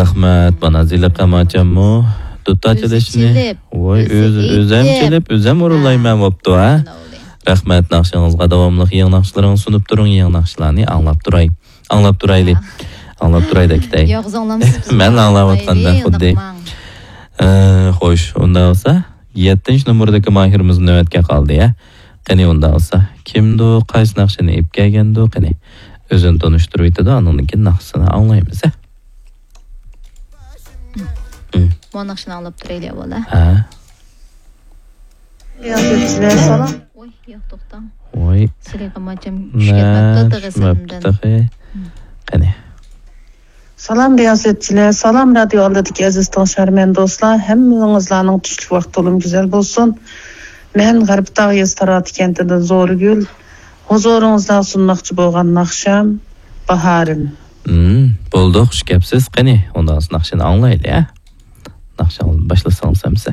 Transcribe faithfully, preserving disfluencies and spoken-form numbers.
رەھمەت، مانا زىلىق ئەماچاممۇ دۇتار ئۆزى چېلىشنى، چېلىپ، ۋاي، ئۆزى ئۆزى، ئۆزەم ئېيتىپ. چېلىپ، ئۆزەم ھا. ئورۇنلايمەن بوپتۇ، ھە؟ مانا ئۇلى. رەھمەت، ناخشىڭىزغا داۋاملىق يېڭى ناخشىلىرىڭىزنى سۇنۇپ تۇرۇڭ، يېڭى ناخشىلارنى ئاڭلاپ تۇراي. ئاڭلاپ تۇراي دەيلى. ھا. ئاڭلاپ تۇراي دەكتەي. ياغزاڭلامسىز بىزنى مەن ئاڭلاۋاتقاندا ئاڭلايلى، خۇددى. ئۇنداقماڭ. ئە، خوش، ئۇنداق بولسا، يەتتىنچى نومۇردىكى ماھىرىمىز نۆۋەتكە قالدى، يا. قېنى، ئۇنداق بولسا، كىمدۇ، قايسى ناخشىنى ئېلىپ كەلگەندۇ، قېنى، ئۆزىنى تونۇشتۇرۇۋېتىدۇ، ئاندىن كېيىن ناخشىسىنى ئاڭلايمىز، ھە. مم. مانا ناخشىنى ئاڭلاپ تۇرايلى ئاۋۋال، ھە. ھە. رىياسەتچىلەر، سالام. ۋوي، ياق، توختاڭ. ۋوي. سىلىقىم ئاچام چۈشۈپ كەتمەپتۇ تېخى سىلىمدىن. مم. قېنى. سالام رىياسەتچىلەر، سالام رادىيو ئالدىدىكى ئەزىز تىڭشارمەن دوستلار، ھەممىڭىزلارنىڭ چۈشلۈك ۋاقتى تولىمۇ گۈزەل بولسۇن. مەن غەربىي تاغ يېزىسى تاراتى كەنتىدىن زورىگۈل. ھۇزۇرىڭىزدا سۇنماقچى بولغان ناخشام باھارىم. مم، بولدى، خۇش كەپسىز. قېنى، ئۇنداق ناخشىنى ئاڭلايلى، ھە؟ ناخشا باشلىسىڭىز ئەمىسە.